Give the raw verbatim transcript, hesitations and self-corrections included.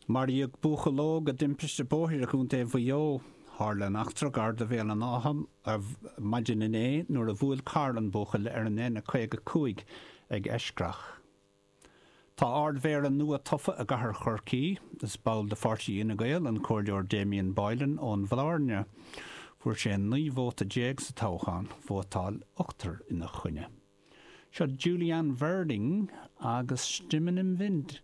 Maraíodh buachaill óg i dtimpiste bóthair i gContae Mhaigh Eo. Tharla an eachtra gar do Bhéal an Átha ar maidin inné nuair a bhuail carr an buachaill ar an N caoga cúig ag Eiscreach. Tá ardmhéara nua tofa i gcathair Chorcaí. Is ball de pháirtí Fhine Gael an Comhairleoir Damien Boylan ón Bhláirne. Fuair sé naoi vóta déag sa toghchán, vótáil ochtar ina choinne. Seo Julian Verding agus Stimmen im Wind.